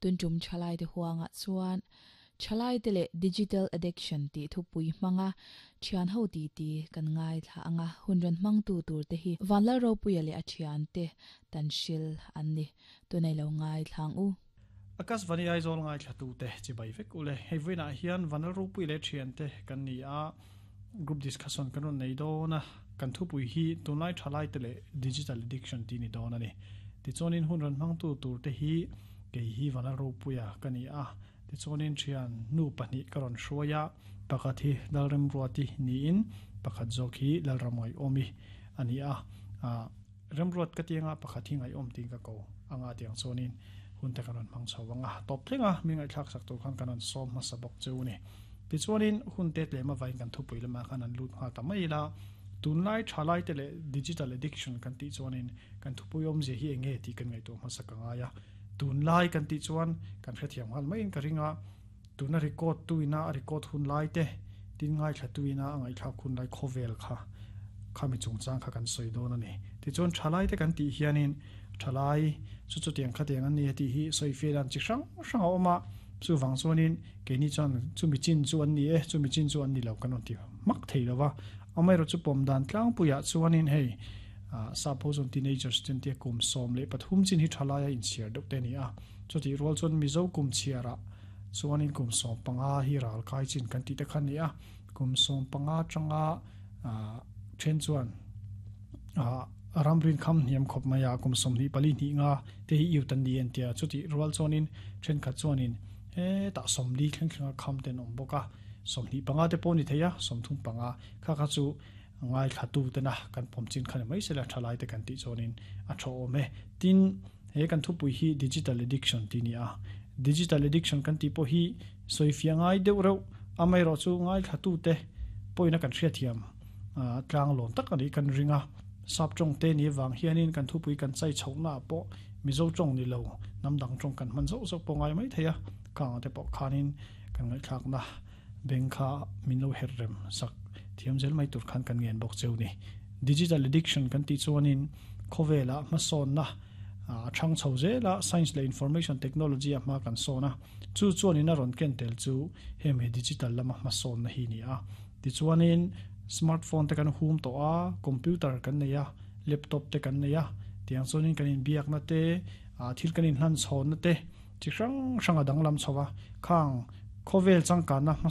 Tun tum thalaite huanga chuan thalaite leh digital addiction tih thupui hmanga thian ho ti ti kan ngai thla anga hunran hmang tu tur te hi vanlal ropuia leh a thian te tan hril an ni tunai lo ngai thlang u. Akas vani Aizawl ngai thla tu te chibai vek ule. Hei vawiinah hian vanal ropui leh thian te kan ni a, group discussion kan rawn nei dawn a, kan thupui hi tunlai thalai te leh digital addiction tih ni dawn a ni. Tichuanin hun rawn hmangtu tur te hi kei hi vanal ropuia ka ni a, tichuanin thian nu pahnih ka rawn hruai a, pakhat hi Lalremruati niin pakhat zawk hi Lalramngaihawmi a ni a. Remruat ka tianga pakhat hi ngaihawm tiin ka ko anga tiang chuanin hun te kan rawn hmang chho ang a, tawp thleng a mi ngaihthlak sak tur khan kan rawn sawm hmasa bawk cheu ni. Tichuanin hun te tlem avain kan thupui lamah khan an lut nghal ta mai ila, tunlai thalai te leh digital addiction kan tih chuanin kan thupui awmzia hi eng nge tih kan ngaihtuah hmasa ka ngai a, tunlai kan tih chuan kan hrethiam nghal maiin ka ring a, tuna record tuina a record hun lai te, tin ngaithla tuina a ngaihthlak hun lai khawvel kha khami chungchang kha kan sawi dawn a ni. Tichuan thalai te kan tih hianin thalai chu chutiang khatiang an ni a tih hi sawi fiah dan chi hrang hrang a awm a, chuvang chuanin keini chuan chumi chin chu an ni e, chumi chin chu an ni lo kan rawn ti hmak thei lo va. Amaherawh chu pawm dan tlangpuiah chuanin hei sap ho chuan teenagers te an tia kum 13 chin hi thalai a inchhiar deuh te a ni a, chutih rual chuan Mizo kum chhiarah Chuanin kum 15 hi ral kai chin kan tih te kha a ni a, kum 15 atanga then chuan ramrin kham hniam khawp mai a, kum 24 hnih nga te hi youth an ni en tia, chutih rual chuanin thenkhat chuanin hetah 40 thleng thlenga kham te an awm bawk a, 25 te pawh a ni thei a, 35 kha kha chu ngaithla tu tena kan pawm chin kha ni mai sela thalai te kan tih chuanin a tha awm e. Tin, he kan thupui hi digital addiction tih a ni a, digital addiction kan tih pawh hi sawifiah ngai deuh reuh, amaherawh chu ngaithla tu te pawhin a kan hriatthiam tlang lawm tak a nih kan ring a. Sap tawng te ni avang hianin kan thupui kan chai chhohna ah pawh Mizo tawng ni lo hnam dang tawng kan hman zauh zauh pawh ngai mai thei a, khang ang te pawh khanin kan ngaihthlakna Beng kha min lo herh rem sak thiam zel mai tur khan kan ngen bawk cheu ni. Digital addiction kan tih chuanin khawvelah hmasawnna a thang chho zel a, science leh information technology a hma kan sawn a, chu chuanin a rawn ken tel chu hemi digital lama hmasawnna hi ni a. Tichuanin smartphone te kan hum tawh a, computer kan nei a, laptop te kan nei a, tiang chuanin kan inbiakna te, thil kan inhlanchhawnna te, Chi hrang hrang a danglam chho a, khang khawvel changkanna hmasa.